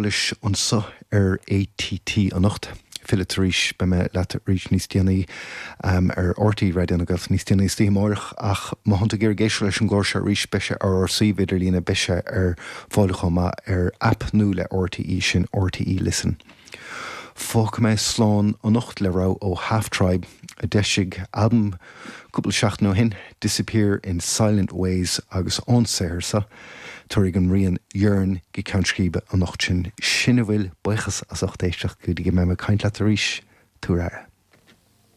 Leis anso ar ATT anocht. Fillfead arís, beidh mé leat arís níos déanaí ar RTÉ Raidió na Gaeltachta níos déanaí istoíche amáireach ach má thánn tú ag iarraidh éisteacht leis an gclár seo arís beidh sé ar ár suíomh idirlíne, beidh sé ar fáil chomh maith ar aip nua le RTÉ, sin RTÉ Listen. Fágfaidh mé slán anocht le rogha ó Half Tribe a d'eisigh albam cúpla seachtain ó shin, Disappear in Silent Ways agus ón saothar seo, tabharfaidh an rian Yearn go ceann scríbe anocht sin. Sin a bhfuil, buíochas as ucht éisteacht go dtí go mbeidh mé ag caint leat arís, tabhair aire.